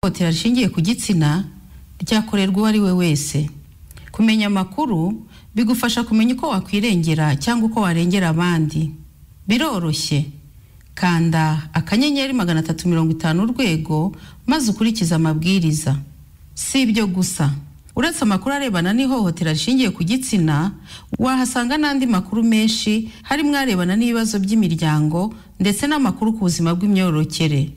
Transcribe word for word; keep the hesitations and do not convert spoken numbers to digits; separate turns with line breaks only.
ihohotera rishingiye ku gitsina ryakorerwa uwo ari we wese. Kumenya amakuru bigufasha kumenya uko wakwirengera cyangwa uko warengera abandi. Biroroshye. Kanda akanyenyeri magana atatu mirongo itanu urwego maze ukurikiza amabwiriza. Si ibyo gusa. Uretse amakuru arebana n'ihohotera rishingiye ku gitsina, wahasanga n'andi makuru menshi harimo arebana n'ibibazo by'imiryango ndetse n'amakuru ku buzima bw'imyororokere.